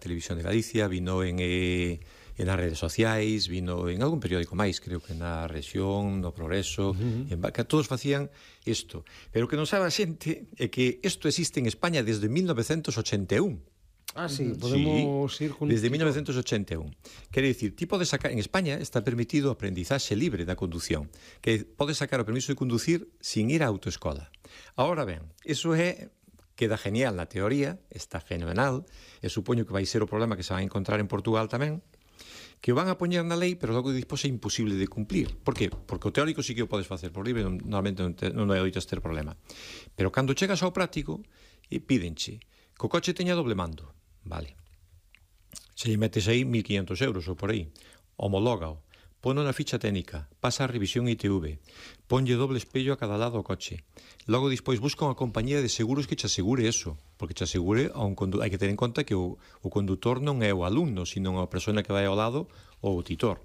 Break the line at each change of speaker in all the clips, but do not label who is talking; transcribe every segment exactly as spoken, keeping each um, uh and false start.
Televisión de Galicia, vino en, eh, en as redes sociais, vino en algún periódico máis, creo que na Rexión, no Progreso, uh-huh. en, que todos facían isto. Pero o que non sabe a xente é que isto existe en España desde mil novecentos ochenta e un.
Ah, sí, podemos
sí,
ir con...
desde mil novecentos ochenta e un. Quere dicir, ti podes sacar... En España está permitido a aprendizaxe libre da condución, que podes sacar o permiso de conducir sin ir á autoescola. Ahora ben, eso é... queda genial na teoría, está fenomenal, e supoño que vai ser o problema que se van a encontrar en Portugal tamén, que o van a poñer na lei, pero logo despois é imposible de cumplir. Por que? Porque o teórico sí que o podes facer por libre, normalmente non, te, non hai oitas ter problema. Pero cando chegas ao práctico, e pídenche que o coche teña doble mando. Vale. Se lle metes aí mil quinhentos euros ou por aí, homológao, pono na ficha técnica, pasa a revisión I T V, ponlle doble espello a cada lado ao coche. Logo, despois, busca unha compañía de seguros que che asegure eso, porque che asegure a un condu... hai que ter en conta que o, o condutor non é o alumno, sino a persona que vai ao lado ou o titor.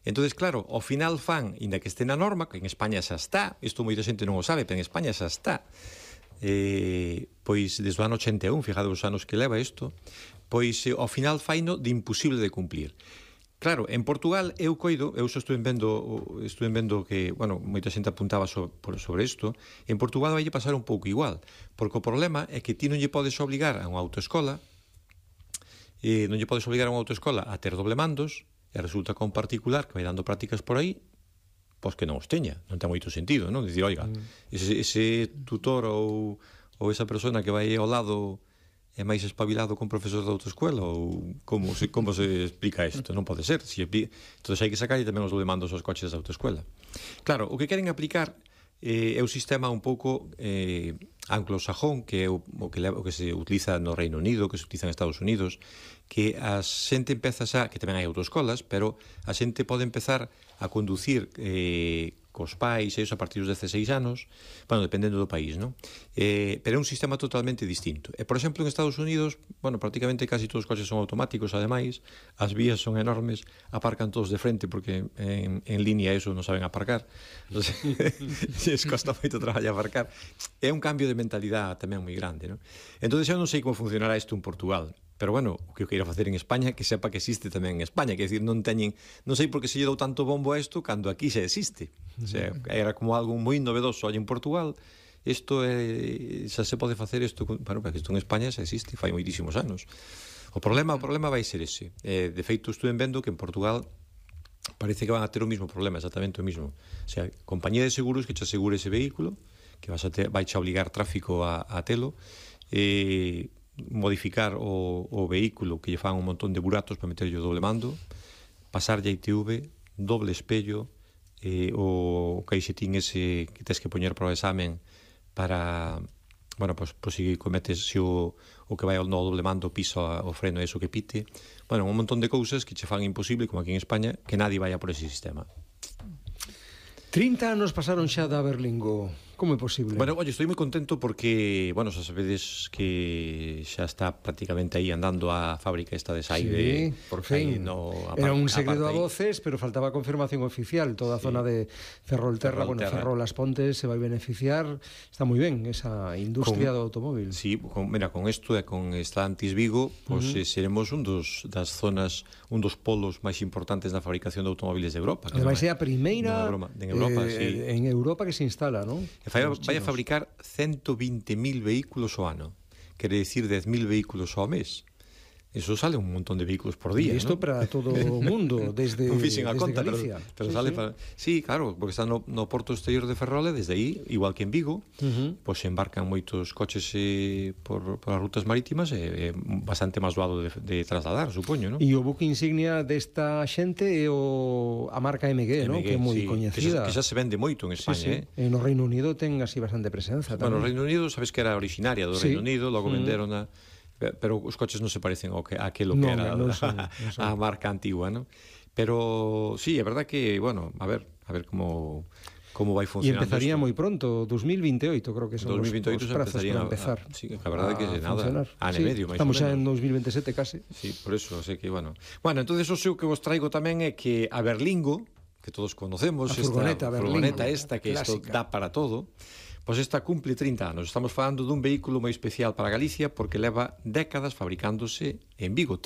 Entonces, claro, ao final fan, inda que este na norma, que en España xa está, isto moita xente non o sabe, pero en España xa está, eh, pois desde o ano ochenta e un, fijade os anos que leva isto, pois eh, ao final faino de imposible de cumplir. Claro, en Portugal eu coido, eu só estuve vendo, estuve vendo que, bueno, moita xente apuntaba so, por, sobre isto, en Portugal vai pasar un pouco igual, porque o problema é que ti non lle podes obligar a unha autoescola, eh, non lle podes obligar a unha autoescola a ter doble mandos, e resulta que un particular que vai dando prácticas por aí, pois que non os teña, non ten moito sentido, non? Dicir, oiga, mm. ese, ese tutor ou, ou esa persona que vai ao lado é máis espabilado con profesor de autoescola, ou como se, como se explica isto? Non pode ser. Si, entón hai que sacar tamén os demandos aos coches da autoescola. Claro, o que queren aplicar eh, é un sistema un pouco eh, anglosajón, que é o, o, que, o que se utiliza no Reino Unido, que se utiliza en Estados Unidos, que a xente empeza xa, que tamén hai autoescolas, pero a xente pode empezar a conducir eh, cos pais e iso a partir dos dezasseis anos, bueno, dependendo do país, non? Eh, pero é un sistema totalmente distinto. E, por exemplo, en Estados Unidos, bueno, prácticamente casi todos os coches son automáticos, ademais, as vías son enormes, aparcan todos de frente, porque en, en línea eso non saben aparcar. Se costa moito traballo aparcar. É un cambio de mentalidade tamén moi grande, non? Entón, eu non sei como funcionará isto en Portugal, pero bueno, o que eu queira facer en España, que sepa que existe tamén en España, que decir, non teñen, non sei por que se lle dou tanto bombo a isto cando aquí xa existe. O sea, era como algo moi novedoso aí en Portugal. Isto é, xa se pode facer isto, bueno, porque isto en España xa existe, fai moitísimos anos. O problema, o problema vai ser ese. Eh, de feito, estuve vendo que en Portugal parece que van a ter o mismo problema, exactamente o mismo. O sea, compañía de seguros que che asegure ese vehículo, que vas a ter, vai che obligar tráfico a, a telo, e eh, modificar o, o vehículo, que lle fan un montón de buratos para meterlle o doble mando, pasarlle a I T V, doble espello, eh, o caixetín ese que tens que poñer para o examen para, bueno, pues, pues si cometes, se si o, o que vai ao no doble mando pisa o freno eso que pite, bueno, un montón de cousas que che fan imposible, como aquí en España, que nadie vaya por ese sistema.
trinta anos pasaron xa da Berlingo. Como é posible?
Bueno, oye, estou moi contento porque, bueno, xa sabedes que xa está prácticamente aí andando a fábrica esta de Saide.
Sí, por fin. No, Era un secreto a voces, pero faltaba confirmación oficial. Toda a sí. zona de Ferrolterra, Ferrol bueno, Ferrol Las Pontes se vai beneficiar. Está moi ben esa industria con, do automóvil.
Sí, con, mira, con isto e con Stellantis Vigo, pues, uh -huh. eh, seremos un dos das zonas, un dos polos máis importantes na fabricación de automóviles de Europa.
Ademais, é a primeira
Europa, en Europa,
eh,
sí.
en Europa que se instala, non?
Vai, vai a fabricar ciento veinte mil vehículos ao ano, quere decir dez mil vehículos ao mes. Eso sale un montón de vehículos por día,
e isto,
¿no?
Para todo o mundo, desde, desde conta, Galicia.
Pero, pero
sí,
sale
sí.
Para... sí, claro, porque está no, no porto exterior de Ferrol, desde aí, igual que en Vigo, uh -huh. pois pues, embarcan moitos coches eh, por, por as rutas marítimas, é eh, bastante máis doado de, de trasladar, supoño, ¿no?
E o buque insignia desta xente é o, a marca M G, ¿no? Que é moi sí, coñecida.
Que xa, que xa se vende moito en España, sí, sí.
eh? E no Reino Unido ten así bastante presenza.
Bueno,
tamén.
no Reino Unido, sabes que era originaria do sí. Reino Unido, logo mm. venderon a... pero os coches non se parecen ao que, a aquilo que
no,
era
no, no
a,
son, no son.
a marca antigua, ¿no? Pero sí, é verdad que, bueno, a ver, a ver como como vai funcionando.
E empezaría
esto.
moi pronto, dos mil veintioito, creo que son
dos mil veintioito
os, os prazos para empezar.
A, sí, a verdade é que é nada,
funcionar.
ano
sí,
e medio, máis
estamos
ou menos.
xa en dos mil veintisiete case.
Sí, por eso, sei que, bueno. Bueno, entonces o seu que vos traigo tamén é que a Berlingo, que todos conocemos,
a furgoneta,
esta
Berlingo,
furgoneta esta, que isto dá para todo, pois esta cumple trinta anos. Estamos falando dun vehículo moi especial para Galicia porque leva décadas fabricándose en Vigo.